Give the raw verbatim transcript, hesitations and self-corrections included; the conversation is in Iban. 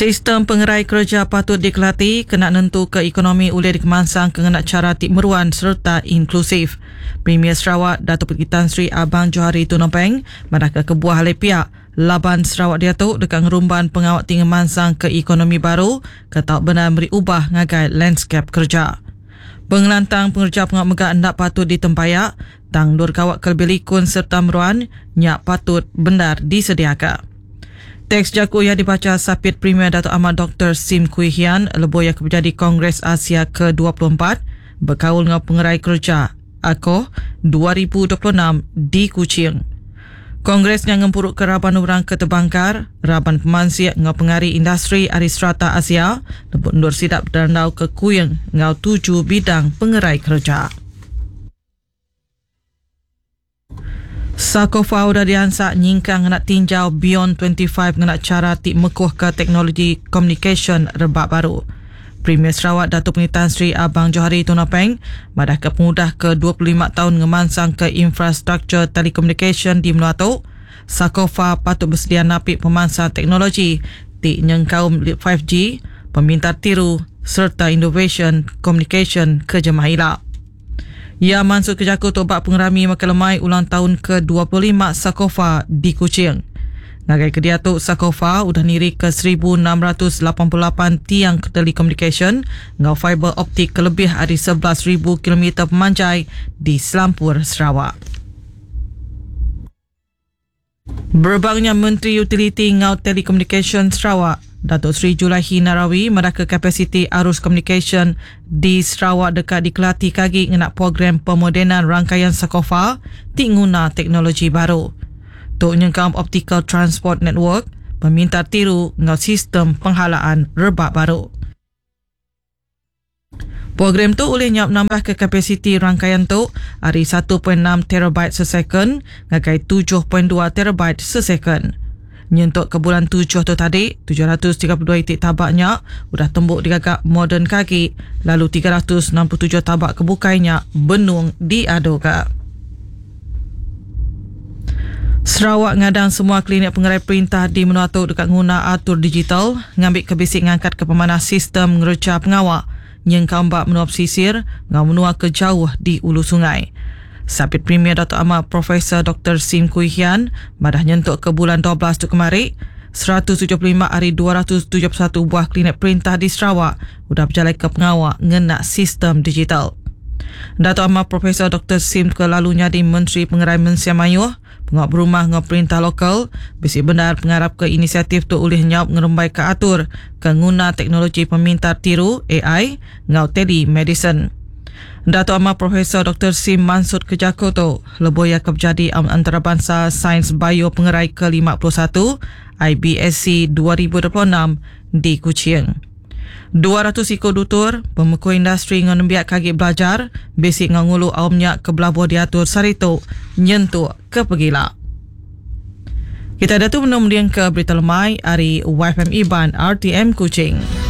Sistem pengerai kerja patut dikelati kena nentu ke ekonomi ulih dikemansang ke ngena cara ti meruan serta inklusif. Premier Sarawak Datuk Patinggi Tan Sri Abang Johari Tun Openg madah ke kebuah alai pihak laban Sarawak diatu deka ngerumban pengawak ti ngemansang ke ekonomi baru ke tau benar meri ubah ngagai landscape kerja. Pengelantang pengerja pengawak mega enda patut ditempayak, tang dur gawak ke lebih likun serta meruan nya patut benar disediakan. Teks jaku ia dibaca Sapit Premier Datuk Amar Doktor Sim Kui Hian lebuh ia kebejadi Kongres Asia ke dua puluh empat berkaul dengan pengerai kerja A C O dua ribu dua puluh enam di Kuching. Kongres yang ngempuruk ke raban orang ke terbangkar, raban pemansiak ngau pengari industri ari serata Asia lebuh endur sidap berandau ke Kuing ngau tujuh bidang pengerai kerja. Sakofa udah diansak nyingkang ngena tinjau Beyond dua puluh lima ngena cara ti mekuh ke teknologi communication rebak baru. Premier Sarawak Datuk Patinggi Tan Sri Abang Johari Tun Openg madah ke pengudah ke dua puluh lima tahun ngemansang ke infrastruktur telekomunikasi di menua tu, Sakofa patut bersedia napi pemansang teknologi ti nyengkaum lima G, pemintar tiru serta innovation communication ke jemah ila. Ia masuk ke jaku tobak pengerami makan lemai ulang tahun ke dua puluh lima Sakofa di Kuching. Ngagai ke dia tu Sakofa udah niri ke seribu enam ratus lapan puluh lapan tiang telekomunikasi ngau fiber optik ke lebih dari sebelas ribu kilometer pemanjai di Selampur Sarawak. Berbangnya Menteri Utiliti ngau Telekomunikasi Sarawak, Datuk Seri Julaihi Narawi meraka kapasiti arus komunikasi di Sarawak dekat dikelati kagi ngena program pemodenan rangkaian Sakofa ti nguna teknologi baru. Tok nyengkaum Optical Transport Network, pemintar tiru ngau sistem penghalaan rebak baru. Program tu boleh nyap nambah ke kapasiti rangkaian tu dari satu perpuluhan enam terabyte sesekon ngagai tujuh perpuluhan dua terabyte sesekon. Nyentuk ke bulan tujuh tu tadi, tujuh ratus tiga puluh dua itik tabaknya udah tembuk digagak moden kaki, lalu tiga ratus enam puluh tujuh tabak kebukainya benung diaduka. Sarawak ngadang semua klinik pengerai perintah di menua tu dekat nguna atur digital ngambil ke bisik ngangkat ke pemanah sistem ngereja pengawak nyengkau bak menua pesisir ngau menua ke jauh di ulu sungai. Sapit Premier Datuk Amar Profesor Doktor Sim Kui Hian madah nyentuk ke bulan dua belas tu kemari, seratus tujuh puluh lima hari dua ratus tujuh puluh satu buah klinik perintah di Sarawak udah berjalan ke pengawak ngena sistem digital. Datuk Amar Profesor Doktor Sim ke lalu nyadi Menteri Pengerai Mensia Mayuh, pengawak berumah ngau perintah lokal, bisi benar pengarap ke inisiatif tu ulih nyaup ngerembai ke atur ke nguna teknologi pemintar tiru A I ngau telemedicine. Datuk Amar Profesor Doktor Sim Mansud Kejako tu lebuh ia kebjadi antarabangsa Sains Bio Pengerai ke lima puluh satu I B S C dua ribu dua puluh enam di Kuching. dua ratus ikut dutur, pemeku industri ngau nembiak kagi belajar, basic ngau ngulu aumnya ke belabuh diatur saritu nyentuk ke pegila. Kita ada tu menung ke berita lemai hari Y F M Iban R T M Kuching.